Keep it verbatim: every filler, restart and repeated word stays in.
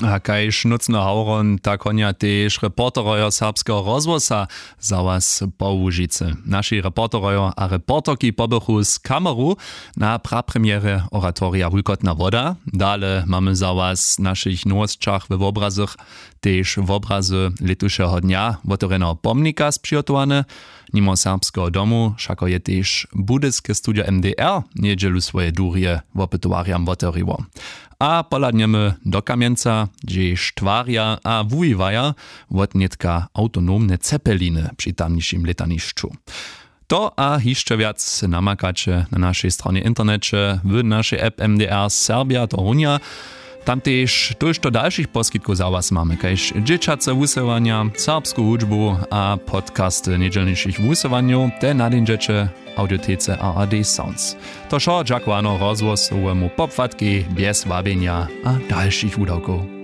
A kaž nócny hawron, tak honja tež reporterojo serbskeho rozhłosa za was po łužicy. Naši reporterojo a reporterki pobychu z kameru na prapremjerje oratorija Wulkotna woda. Dale mamy za was w našich nowosćach we wobrazach tež wobrazy lětušeho dnja wotewrjeneho pomnika spřihotowane. Nimo serbskeho domu wšako je tež budyske studio mdr njedźelu swoje durje wopytowarjam wotewriło. A pohladnjemy do kamjenca, hdźež twarja a wuwiwaja wotnětka awtonomne cepeliny při tamnišim lětanišću. To a hišće wjac namakaće na našej stronje w interneće, w našej app mdr serbia to runja. Tam tež tójšto dalšich poskitkow za was mamy, kaž dźěćace wusyłanja, serbsku hudźbu a podcasty njedźelnišich wusyłanjow te nadinźeće w audiotece rad sounds. To wšo dźakowano rozhłosowemu popłatkej bjez wabjenja a dalšich wudawkow.